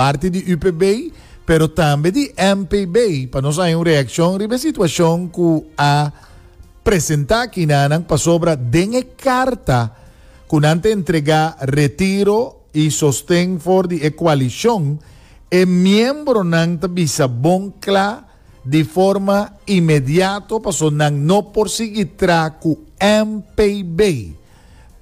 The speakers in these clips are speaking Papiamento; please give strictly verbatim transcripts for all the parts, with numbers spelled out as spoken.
Parti di U P B, pero tambe di M P B, pa nos haña un reakshon riba e situashon ku a presentá aki nan, pasobra den e karta ku nan ta entregá retiro i sosten for di e koalishon, e miembronan ta bisa bon kla di forma inmediato paso nan no por sigui traha ku M P B.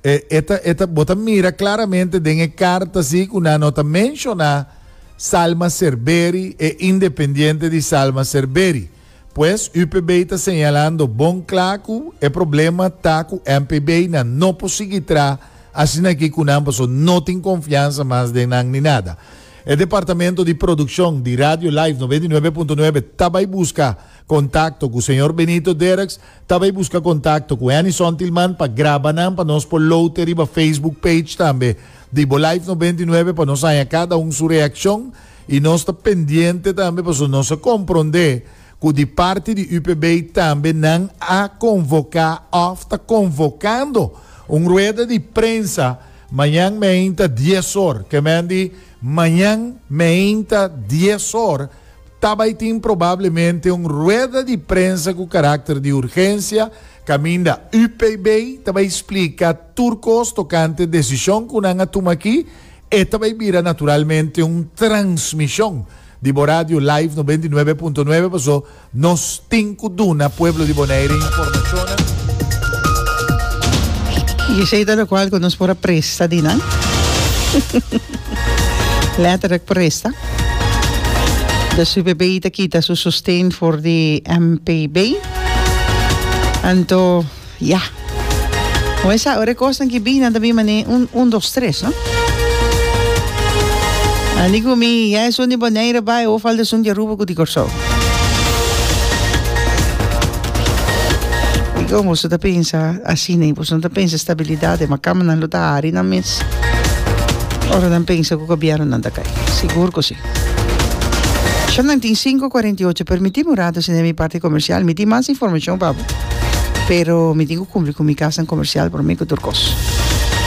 E, eta, eta, bo ta mira klaramente den e karta si ku nan no ta menshoná Salma Cerberi e independiente di Salma Cerberi. Pues U P B ta señalando bon kla ku e problema ta ku M P B, nan no por sigui traha asina aki ku nan, paso no tin konfiansa mas den nan ni nada. E departamento di produkshon di Radio Live nobenta i nuebe punto nuebe tambe buska kontakto ku señor Benito Derks, tambe buska kontakto ku Anison Tilman pa graba nan pa nos por load riba Facebook page tambe di Bo Live nobenta i nuebe, pa nos haña kada un su reakshon, i nos ta pendiente tambe pa nos komprondé ku di parti di U P B tambe nan a konvoká òf ta konvokando un rueda di prensa mañan mainta dies or, ke men di mañan mainta dies or tambe tin probablemente un rueda di prensa ku karakter di urgensia, kaminda U P B tambe splika tur kos tokante desishon ku nan a tuma aki, i tambe bira naturalmente un transmishon di Radio Live nobenta i nuebe punto nuebe, paso nos tin ku duna pueblo di Bonaire informashon. I esei ta lokual ku nos por a presta di nan. Letterlijk presta. De U P B ta kita su sosten for di M P B. Anto, ja. Esa ora kosnan ku bin, tambe mane un, un, dos, tres, no? Ani ku mi, ya esun di Bonaire bai, of al esun di Aruba ku di Kòrsou. I kon bo ta pensa asina, ne? Bo ta pensa stabilidat, ma kama nan lo ta hari nan mes. Ora nan pensa ku gobièrnu nan ta kai. Sigur ku si. Shanang tin sinku kuarenta i ocho, permití un ratu sin mi parti komersial. Mi tin mas informashon, papo. Pero mi tin ku kumpli ku mi kas komersial pa mi ku tur kos.